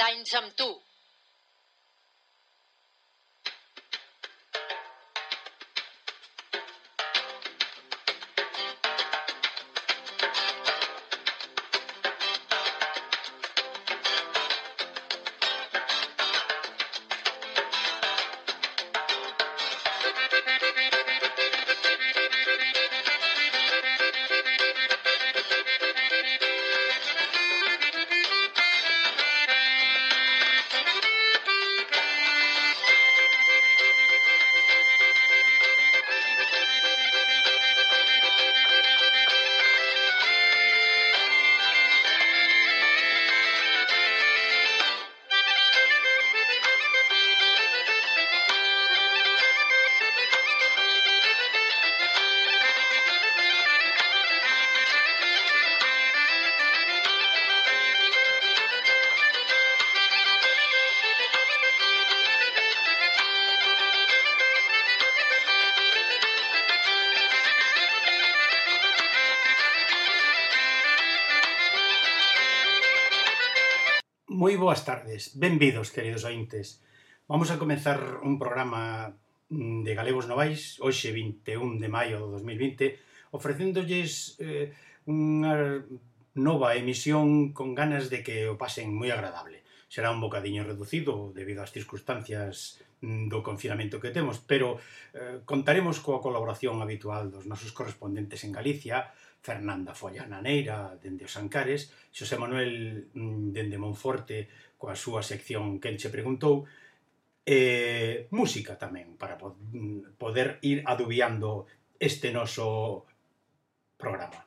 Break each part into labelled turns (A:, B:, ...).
A: anys amb tu.
B: Moi boas tardes, benvidos, queridos ointes. Vamos a comenzar un programa de Galegos Novais, hoxe 21 de maio de 2020, ofrecéndolles unha nova emisión con ganas de que o pasen moi agradable. Será un bocadiño reducido debido ás circunstancias do confinamento que temos, pero contaremos coa colaboración habitual dos nosos correspondentes en Galicia, Fernanda Follana Neira, dende os Ancares, Xosé Manuel dende Monforte, coa súa sección Quen che preguntou, e música tamén, para poder ir adubiando este noso programa.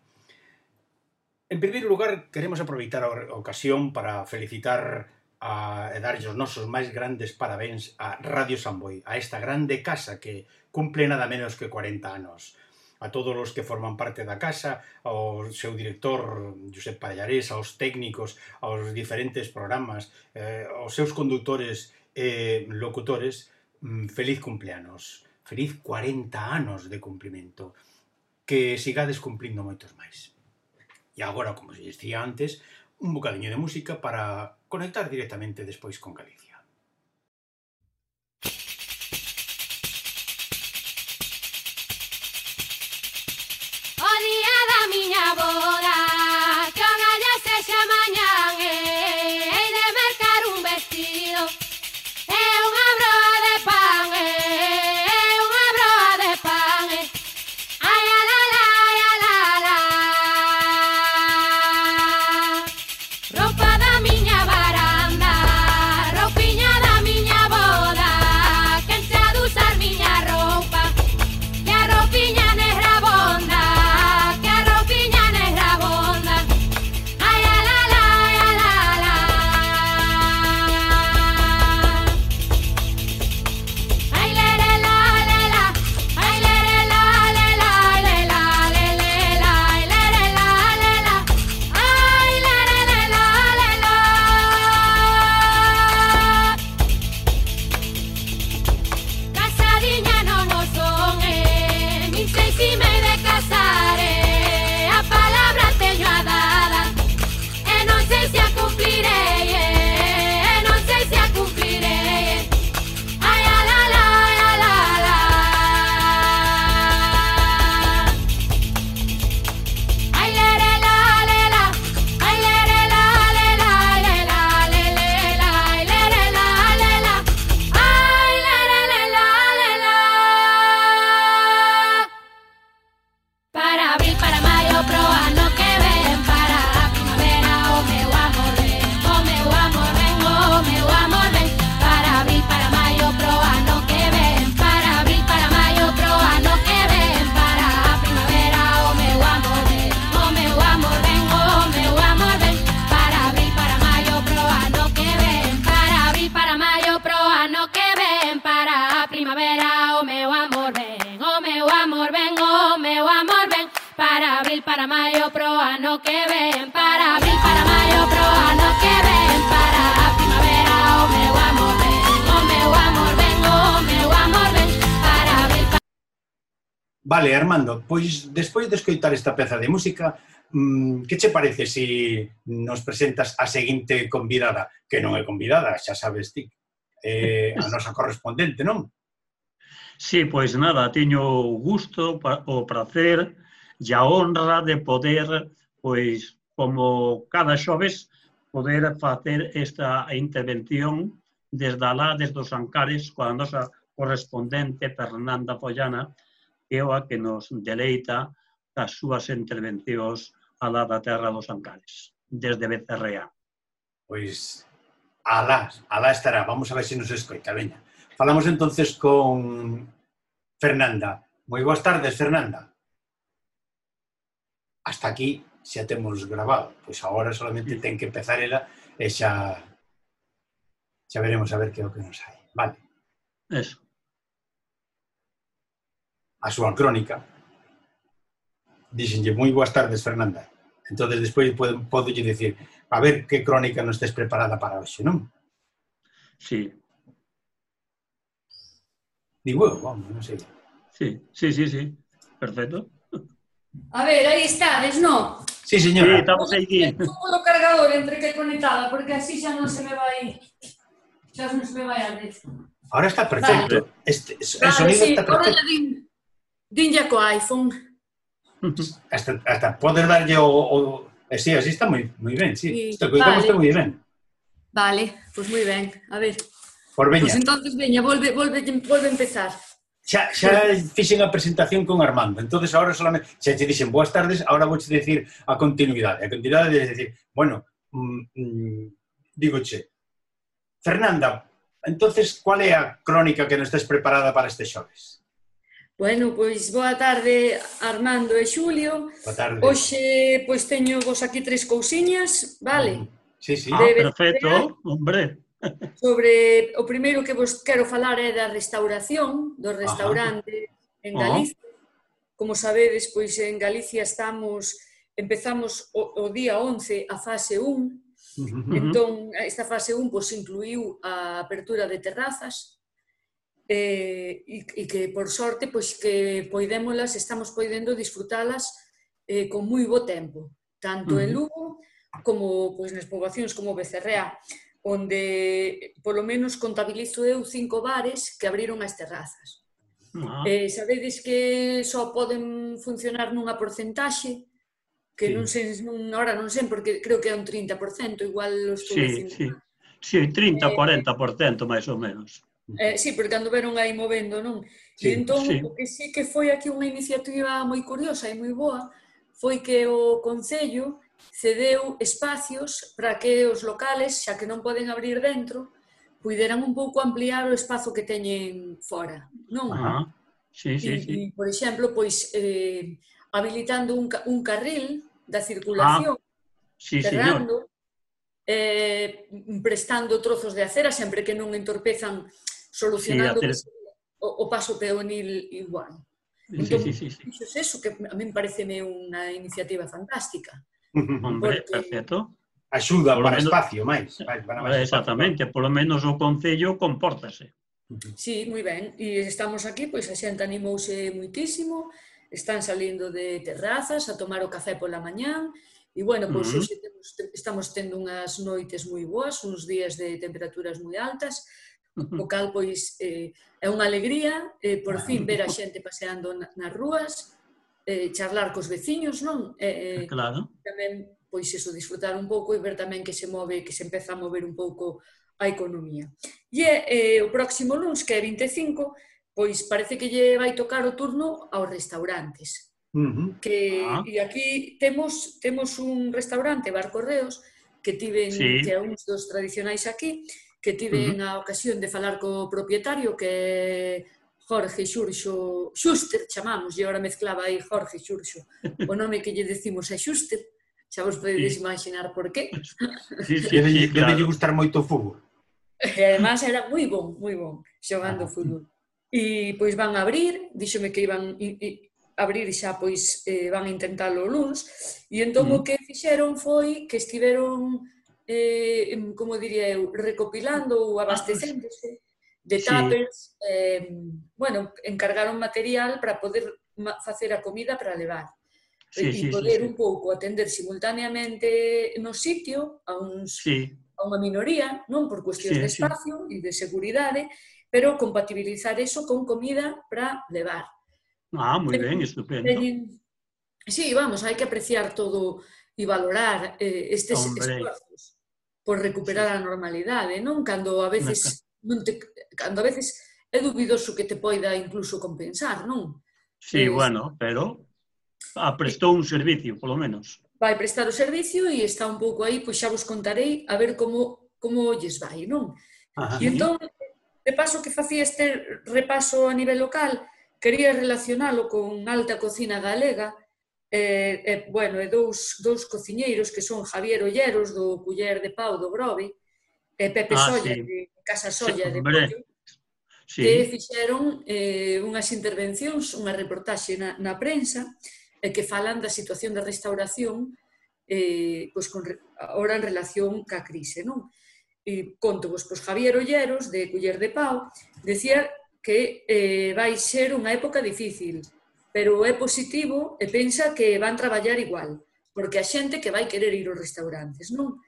B: En primeiro lugar, queremos aproveitar a ocasión para felicitar e darlle os nosos máis grandes parabéns a Radio Samboy, a esta grande casa que cumple nada menos que 40 anos. A todos os que forman parte da casa, ao seu director, Josep Pallarés, aos técnicos, aos diferentes programas, aos seus condutores e locutores, feliz cumpleanos, feliz 40 anos de cumprimento, que sigades cumplindo moitos máis. E agora, como se dicía antes, un bocadiño de música para conectar directamente despois con Galicia.
C: Para maio pro ano que ven, para abril, para maio pro ano que ven, para a primavera o meu amor ven, o meu amor ven, o meu amor ven, para abril.
B: Vale, Armando, pois despois de escoitar esta peza de música, que che parece se nos presentas a seguinte convidada, que non é convidada, xa sabes ti, a nosa correspondente, non?
A: Sí, pois nada, teño o gusto, o prazer e a honra de poder, pois, como cada xoves, poder facer esta intervención desde alá, desde os Ancares, coa nosa correspondente Fernanda Follana, que é a que nos deleita as súas intervencións alá da terra dos Ancares, desde Becerrea.
B: Pois, alá estará, vamos a ver se nos escoita, veña. Falamos entonces con Fernanda. Moi boas tardes, Fernanda. Hasta aquí xa temos grabado. Pois agora solamente ten que empezar ela e xa veremos a ver que é o que nos hai. Vale.
A: Eso.
B: A súa crónica. Díxenlle, moi boas tardes, Fernanda. Entón, despois podo lle dicir, a ver que crónica non estés preparada para hoxe, non?
A: Sí.
B: Digo eu, vamos, non sei.
A: Sí. Perfecto.
D: A ver, aí estades, non?
B: Sí, señora.
A: Sí, estamos aquí.
D: Pongo o cargador entre que conectada, porque así xa non se me vai... Xa non se me vai a vez.
B: Ahora está perfecto.
A: Vale.
B: El sonido
D: sí,
B: está perfecto.
D: ahora dinlle co iPhone.
B: Hasta poder darlle o... Sí, así está moi ben, sí. Isto que
D: Vale.
B: está moi ben.
D: Vale, pois moi ben. A ver.
B: Por veña.
D: Pois entonces, veña, volve a empezar.
B: Xa fixen a presentación con Armando, entonces ahora solamente, xa te dixen boas tardes, ahora vouche decir a continuidade. A continuidade é decir, bueno, dígoche, Fernanda, entonces, cual é a crónica que non estés preparada para este xoves?
D: Bueno, pois boa tarde, Armando e Xulio.
B: Boa tarde.
D: Hoxe, pois teño vos aquí 3 cousiñas, vale?
B: Sí.
A: Perfecto, hombre.
D: Sobre o primeiro que vos quero falar é da restauración dos restaurantes en Galicia. Como sabedes, pois en Galicia empezamos o día 11 a fase 1. Entón, esta fase 1 pois incluiu a apertura de terrazas e que, por sorte, pois que estamos podendo disfrutalas con moi bo tempo, tanto en Lugo como pois nas poboacións como Becerrea, onde, polo menos, contabilizo eu 5 bares que abriron as terrazas. Sabedes que só poden funcionar nunha porcentaxe, que non sei, ahora non sei, porque creo que é un 30%, igual os estou dicindo.
A: Sí, 30-40% máis ou menos.
D: Sí, porque anduveron aí movendo, non? E entón, o que sí que foi aquí unha iniciativa moi curiosa e moi boa, foi que o Concello cedeu espacios para que os locales, xa que non poden abrir dentro, puideran un pouco ampliar o espazo que teñen fora, non?
A: Sí.
D: E, por exemplo, pois, habilitando un carril da circulación, cerrando, prestando trozos de acera, sempre que non entorpezan, solucionando o paso peonil igual. Entón, eso que a mí pareceme unha iniciativa fantástica.
A: Hombre, perfecto.
B: Axuda para espacio, máis.
A: Exactamente, polo menos o Concello compórtase.
D: Sí, moi ben. E estamos aquí, pois a xente animouse moitísimo, están salindo de terrazas a tomar o café pola mañán, e, bueno, pois hoxe estamos tendo unhas noites moi boas, uns días de temperaturas moi altas, o cal, pois, é unha alegría, por fin, ver a xente paseando nas rúas, charlar cos veciños, non?
A: Claro.
D: Tamén, pois, eso, disfrutar un pouco e ver tamén que se empeza a mover un pouco a economía. E o próximo luns, que é 25, pois parece que lle vai tocar o turno aos restaurantes. E aquí temos un restaurante, Bar Correos, que é un dos tradicionais aquí, que tiven a ocasión de falar co propietario, que é Jorge Xurxo, Xuster, chamamos, e agora mezclaba aí Jorge Xurxo. O nome que lle decimos é Xuster, xa vos podedes imaginar por qué.
B: Debe gustar moito o fútbol.
D: E además era moi bon, xogando fútbol. E pois van a abrir, díxome que iban abrir xa, pois van a intentalo o luns, e entón o que fixeron foi que estiveron, como diría eu, recopilando ou abastecéndose de tuppers, bueno, encargaron material para poder facer a comida para levar. e poder un pouco atender simultaneamente no sitio a unha minoría, non por cuestións de espacio e de seguridade, pero compatibilizar eso con comida para levar.
A: Moi ben, estupendo.
D: Sí, vamos, hai que apreciar todo e valorar estes esforzos por recuperar a normalidade, non? Cando a veces é dubidoso que te poida incluso compensar, non?
A: Sí, bueno, pero prestou un servicio, polo menos.
D: Vai prestar o servicio e está un pouco aí, pois xa vos contarei a ver como lles vai, non? E entón, de paso que facía este repaso a nivel local, quería relacionalo con alta cocina galega, bueno, e dous cociñeiros que son Javier Olleros, do Culler de Pau do Grove, e Pepe Solla, de Casa Solla de Pollo, que fixeron unhas intervencións, unha reportaxe na prensa, que falan da situación da restauración ahora en relación ca crise, non? E conto vos, Javier Olleros, de Culler de Pau, decía que vai ser unha época difícil, pero é positivo e pensa que van traballar igual, porque a xente que vai querer ir aos restaurantes, non?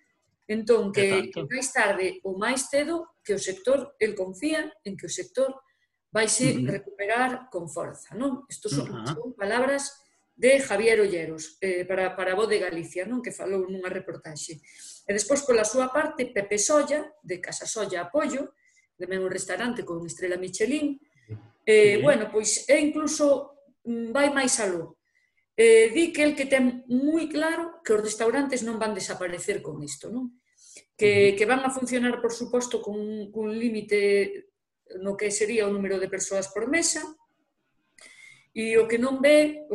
D: Entón, que máis tarde ou máis cedo, que o sector, el confía en que o sector vaise recuperar con forza, non? Estos son palabras de Javier Olleros, para a Voz de Galicia, non? Que falou nunha reportaxe. E despois, pola súa parte, Pepe Solla, de Casa Solla a Pollo, tamén un restaurante con estrela Michelin, bueno, pois é incluso vai máis aló. Di que el que ten moi claro que os restaurantes non van desaparecer con isto, non? Que van a funcionar, por suposto, con un límite no que sería o número de persoas por mesa, e o que non ve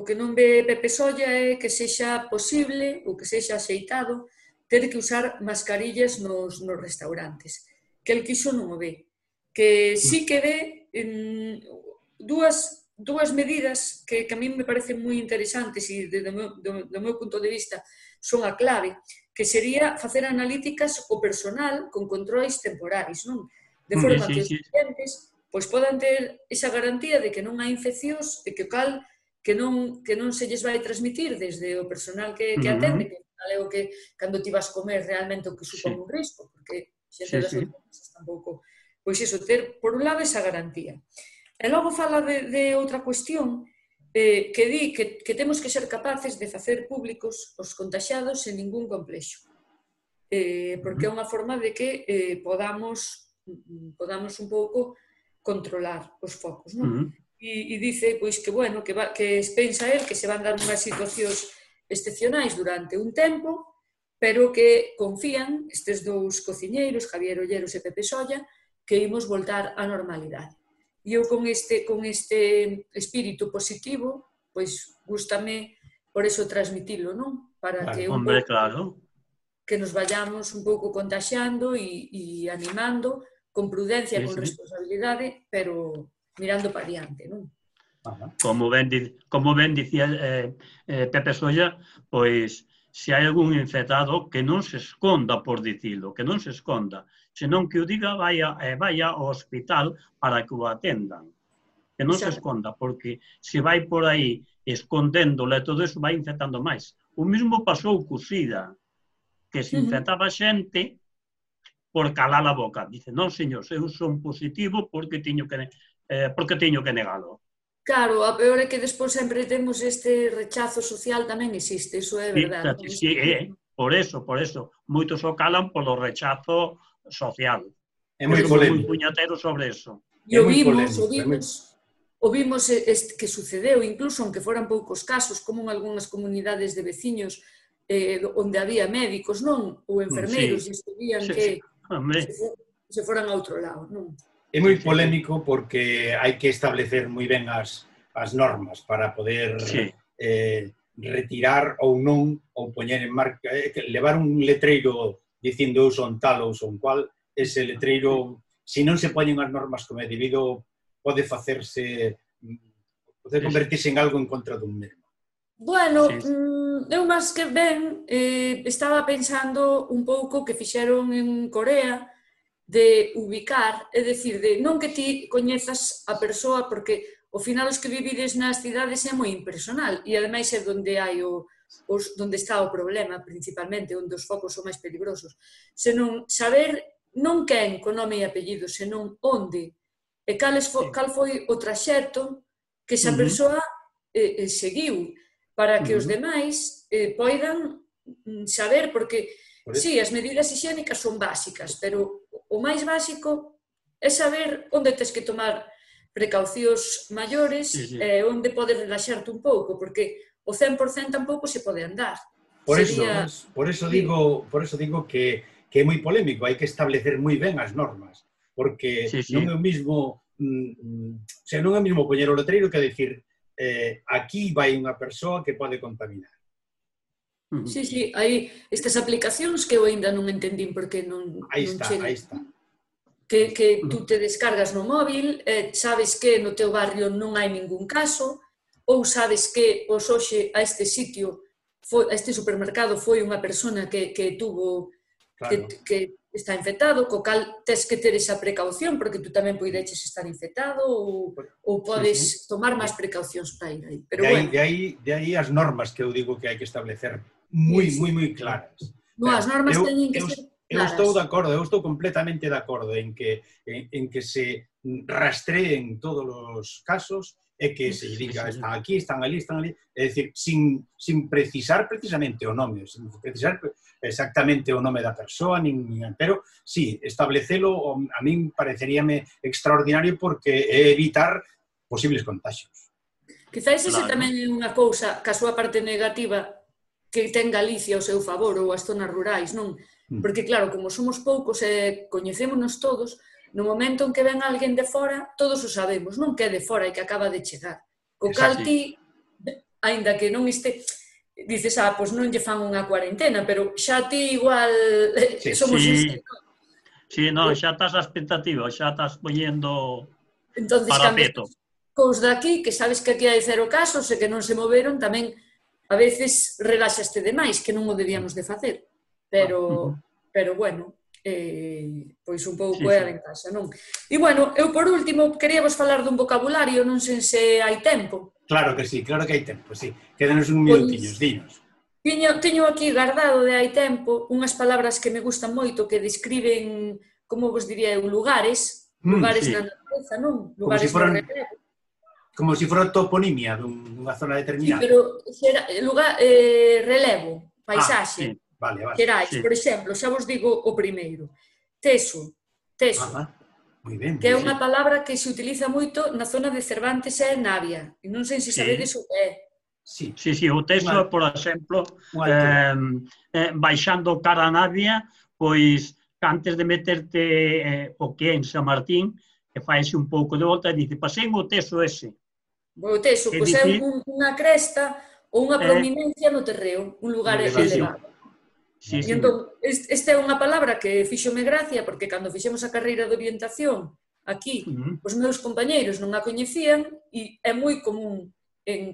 D: Pepe Solla é que sexa posible ou que sexa axeitado ter que usar mascarillas nos restaurantes, que el quiso non o ve, que sí que ve dúas medidas que a mí me parecen moi interesantes e do meu punto de vista son a clave, que sería facer analíticas o personal con controis temporais, non? De forma que os clientes podan ter esa garantía de que non hai infeccións e que non se lles vai transmitir desde o personal que atende, que é o que cando ti vas comer realmente o que supón un risco, porque xente das outras mesas tampouco. Pois iso, ter por un lado esa garantía. E logo fala de outra cuestión que di que temos que ser capaces de facer públicos os contaxiados sen ningún complexo, porque é unha forma de que podamos un pouco controlar os focos, non? E dice pois que, bueno, que pensa el que se van dar unhas situacións excepcionais durante un tempo, pero que confían estes dous cociñeiros, Javier Olleros e Pepe Solla, que imos voltar á normalidade. E eu con este espírito positivo, pois gústame por eso transmitilo, non? Para que un pouco que nos vayamos un pouco contaxiando e animando con prudencia, con responsabilidade, pero mirando para diante, non?
A: Como ben dicía Pepe Solla, pois se hai algún infectado que non se esconda por dicilo, que non se esconda, senón que o diga vaya ao hospital para que o atendan, que non se esconda, porque se vai por aí escondéndole todo eso vai infectando máis. O mesmo pasou co SIDA, que se infectaba xente por calar a boca. Dice, non, señor, eu son positivo porque teño que negalo.
D: Claro, a peor é que despois sempre temos este rechazo social, tamén existe, iso é verdade.
A: Sí, por eso. Moitos o calan polo rechazo social.
B: É moi polémico.
A: Moi puñatero sobre eso.
D: E o vimos que sucedeu, incluso aunque foran poucos casos, como en algunhas comunidades de veciños onde había médicos, non? Ou enfermeiros, e estudían que se foran a outro lado, non?
B: É moi polémico porque hai que establecer moi ben as normas para poder retirar ou non, ou poñer en marca, levar un letreiro dicindo eu son tal ou son cual, ese letreiro, se non se poñen as normas como é debido, pode convertirse en algo en contra dun mesmo.
D: Bueno, eu máis que ben estaba pensando un pouco que fixeron en Corea de ubicar, é dicir, de non que ti coñezas a persoa, porque ao final os que vivides nas cidades é moi impersonal e ademais é onde hai onde está o problema principalmente, onde os focos son máis peligrosos. Senón saber non quen co nome e apellido, senón onde e cal foi o traxecto que esa persoa seguiu para que os demais poidan saber, porque sí, as medidas higiénicas son básicas, pero o máis básico é saber onde tens que tomar precaucións maiores e onde podes relaxarte un pouco, porque o 100% tampouco se pode andar.
B: Por eso digo que é moi polémico, hai que establecer moi ben as normas, porque non é o mismo, non é o mismo poñer o letreiro que decir aquí vai unha persoa que pode contaminar.
D: Sí, hai estas aplicacións que eu ainda non entendín porque non chegan.
B: Aí está.
D: Que tú te descargas no móvil, sabes que no teu barrio non hai ningún caso, ou sabes que hoxe a este sitio, a este supermercado foi unha persona que tuvo, que está infectado, co cal tes que ter esa precaución, porque tú tamén poideches estar infectado ou podes tomar máis precaucións para ir aí.
B: De aí as normas que eu digo que hai que establecer moi claras.
D: Non, as normas teñen que ser...
B: Eu estou de acordo, eu estou completamente de acordo en que se rastreen todos os casos e que se diga están aquí, están ali, é dicir, sin precisar precisamente o nome, sin precisar exactamente o nome da persoa, pero sí, establecelo a min pareceríame extraordinario porque é evitar posibles contagios.
D: Quizás ese tamén é unha cousa, que a súa parte negativa que ten Galicia ao seu favor ou as zonas rurais, non? Porque, claro, como somos poucos e coñecémonos todos, no momento en que ven alguén de fora, todos o sabemos, non que é de fora e que acaba de chegar. Co cal ti, aínda que non este, dices, pois non lle fan unha cuarentena, pero xa ti igual somos insectos.
A: Sí, non, xa estás a expectativa, xa estás poñendo
D: parapeto. Cos daqui, que sabes que aquí hai 0 casos e que non se moveron, tamén a veces relaxaste demais, que non o debíamos de facer. Pero bueno, pois un pouco é a ventaxa, non? E, bueno, eu por último queríamos falar dun vocabulario, non sei se hai tempo.
B: Claro que hai tempo, sí. Quédanos un minutinhos, dinos.
D: Teño aquí guardado de hai tempo unhas palabras que me gustan moito, que describen, como vos diría eu, lugares na natureza, non? Lugares no relevo.
B: Como se fora toponimia dunha zona determinada.
D: Sí, pero relevo, paisaxe.
B: Vale.
D: Xerais, por exemplo, xa vos digo o primeiro. Teso.
B: Moi ben.
D: Que é unha palabra que se utiliza moito na zona de Cervantes e Navia. E non sei se sabedes o que é.
A: Sí, o teso, por exemplo, baixando cara a Navia, pois, antes de meterte o que é en San Martín, que faese un pouco de volta e dice, pasei o teso ese.
D: O teso, pois é unha cresta ou unha prominencia no terreo, un lugar elevado. E entón, esta é unha palabra que fíxome gracia, porque cando fixemos a carreira de orientación aquí, os meus compañeiros non a coñecían e é moi común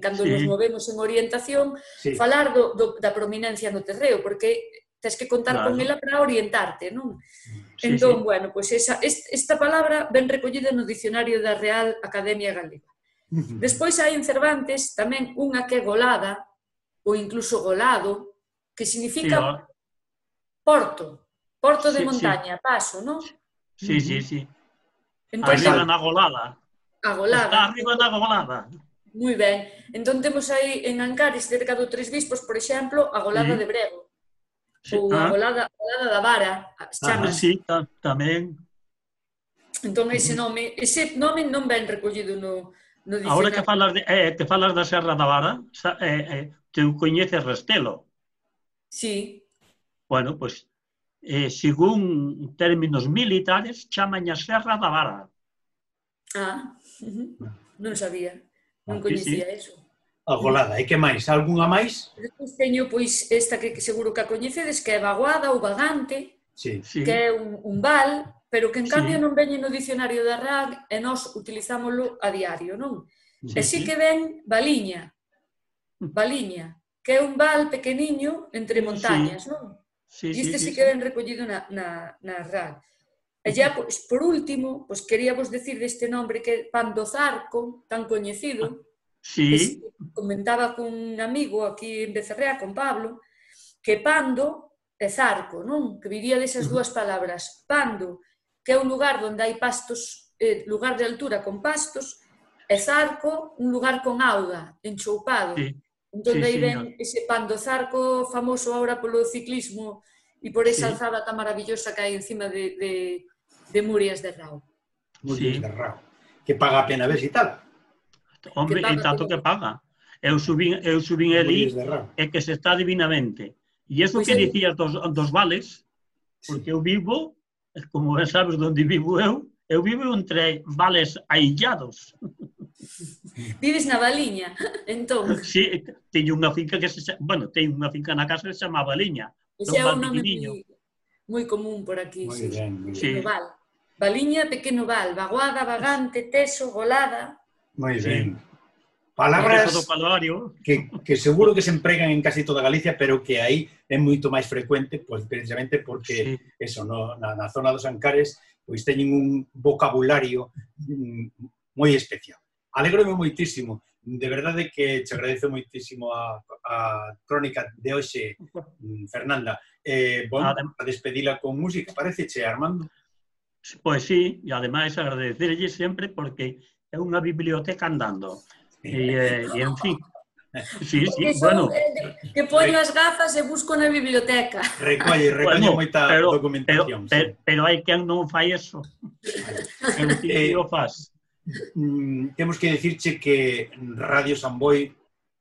D: cando nos movemos en orientación falar da prominencia no terreo, porque tens que contar con ela para orientarte, non? Entón, bueno, pois esta palabra ben recollida no dicionario da Real Academia Galega. Despois hai en Cervantes tamén unha que é golada, ou incluso golado, que significa porto de montaña, paso, non?
A: Sí. Arriba na golada. Está arriba na golada.
D: Moi ben. Entón temos aí en Ancares, cerca do Tres Bispos, por exemplo, a golada de Brego. Ou a golada da Vara, chamas.
A: Sí, tamén.
D: Entón ese nome non ben recollido no dicionario.
A: Agora que falas da Serra da Vara, te coñeces Restelo.
D: Sí.
A: Bueno, pois, según términos militares, chaman a Serra da Vara.
D: Non sabía, non coñecía eso.
B: A golada, e que máis? Algunha máis?
D: Despois teño, pois, esta que seguro que a coñecedes, que é vaguada ou vagante, que é un val, pero que en cambio non veñe no dicionario da RAG e nós utilizámoslo a diario, non? E si que ven valiña, que é un val pequeniño entre montañas, non? E este sí que ven recollido na RAG. E xa, pois, por último, pois queríamos decir deste nombre que é pan do Zarco, tan coñecido,
A: Sí,
D: que comentaba cun amigo aquí en Becerrea, con Pablo, que pando e zarco, non? Que viría desas dúas palabras. Pando, que é un lugar onde hai pastos, lugar de altura con pastos, e zarco, un lugar con auga, enchoupado.
A: sí,
D: Entón,
A: sí,
D: aí
A: señor.
D: ven ese pan do Zarco famoso ahora polo ciclismo e por esa
A: Sí,
D: alzada tan maravillosa que hai encima de Murias de Rao.
B: Murias
A: sí.
B: de Rao, que paga a pena visitar.
A: Hombre,
D: paga,
A: e tanto
D: que
A: que paga. Eu subín
B: Murias
A: ali
B: de Rao.
A: e que se está divinamente. E iso
D: Pois
A: que
D: eu-
A: dicías dos vales, porque eu vivo, como ben sabes onde vivo eu vivo entre vales aillados.
D: Vives na Valiña, entón.
A: Sí, teño unha finca teño unha finca na casa que se chama Valiña.
D: Ese é
A: Un val
D: un nome
A: pequeniño.
D: moi común por aquí,
B: Moi
D: sí.
B: ben, moi
A: Sí.
B: ben.
D: Pequeno val. Valiña, pequeno val. Vaguada, vagante, teso, golada.
B: Moi
A: Sí.
B: ben.
A: Eso do
B: Palabras
A: calvario.
B: que seguro que se empregan en casi toda Galicia, pero que aí é moito máis frecuente, pois precisamente porque
A: Sí.
B: eso, na zona dos Ancares, pois teñen un vocabulario moi especial. Alégrome moitísimo, de verdade que te agradezo moitísimo a crónica de hoxe, Fernanda. A despedila con música, paréceche, Armando?
A: Pois sí, e ademais agradecerlle sempre porque é unha biblioteca andando. E en fin. Sí, sí,
D: Que son, que poño as gafas e busco na biblioteca.
B: Recolle moita documentación.
A: Pero hai quen non fai eso. Eu ti o faz.
B: Temos que dicirche que Radio Samboy,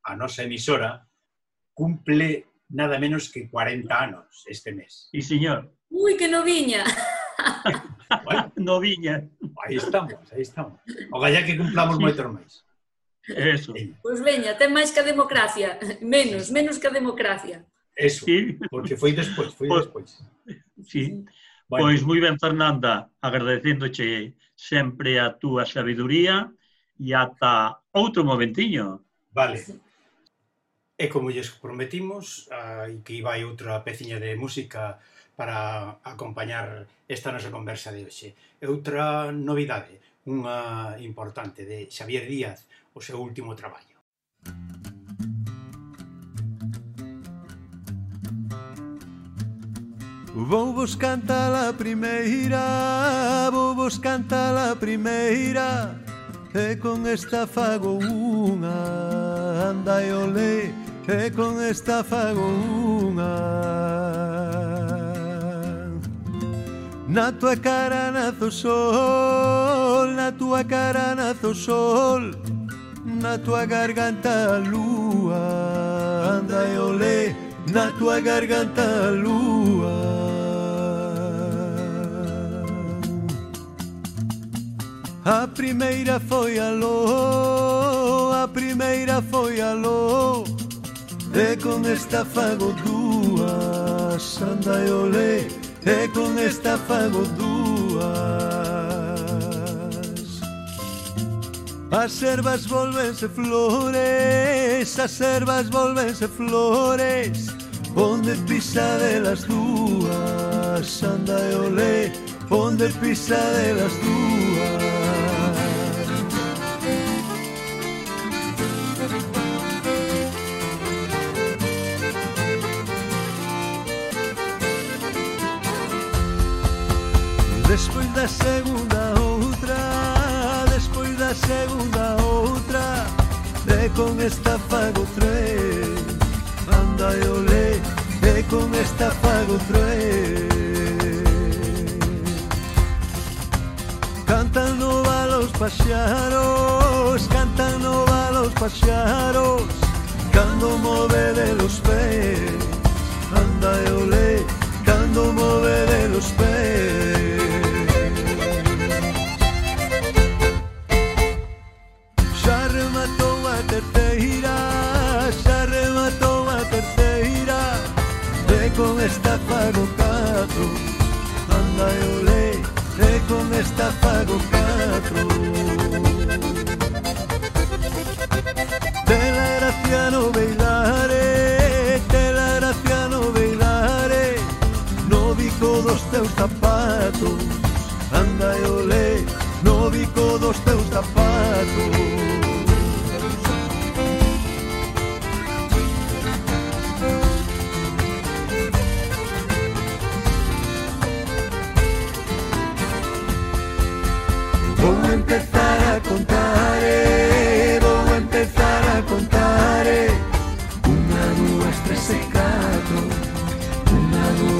B: a nosa emisora, cumple nada menos que 40 anos este mes.
A: Sí, señor.
D: Ui, que noviña.
B: Bueno,
A: Noviña.
B: aí estamos. Ogallá que cumplamos moitos máis.
A: Eso.
D: Pois veña, ten máis que a democracia. Menos que a democracia.
B: Eso,
A: Sí.
B: porque foi despois.
A: Sí.
B: Bueno.
A: Pois moi ben, Fernanda, agradecéndoche sempre a túa sabiduría e ata outro momentiño.
B: Vale. E como lles prometimos, que iba hai outra peciña de música para acompañar esta nosa conversa de hoxe. E outra novidade, unha importante, de Xavier Díaz, o seu último traballo.
E: Vou vos cantar a primeira, e con esta fago unha, anda e olé, e con esta fago unha. Na tua cara nace o sol, na tua cara nace o sol, na tua garganta a lúa, anda e olé, na tua garganta a lúa. A primeira foi aló, e con esta fago dúas, anda e olé, e con esta fago dúas. As servas volvense flores, onde pisa delas dúas, anda e olé, onde pisa delas dúas. Despois da segunda outra, e con esta fago tres, anda e olé, e con esta fago tres. Cantan no val os paxaros, cando move de los pés, anda e olé, cando move de los pés. Xa rematou a terceira, e con esta fago catro, anda e olé, e con esta fago catro. Te la gracia no bailare, no bico dos teus zapatos, empezar a contar, vou empezar a contar. 1, 2, 3 e 4, 1,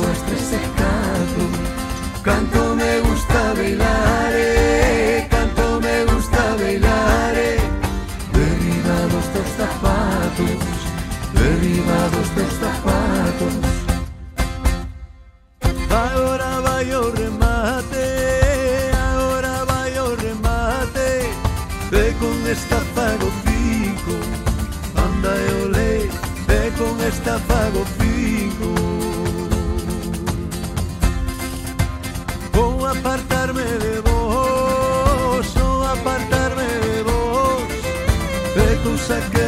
E: 2, 3 e 4. Canto me gusta bailar, canto me gusta bailar. Derriba dos teus zapatos, derriba dos teus zapatos. Agora vai o remate, agora vai o remate. E con esta fago 5, anda e olé, e con esta fago 5. Vou apartarme de vos, vou apartarme de vos. E cousa que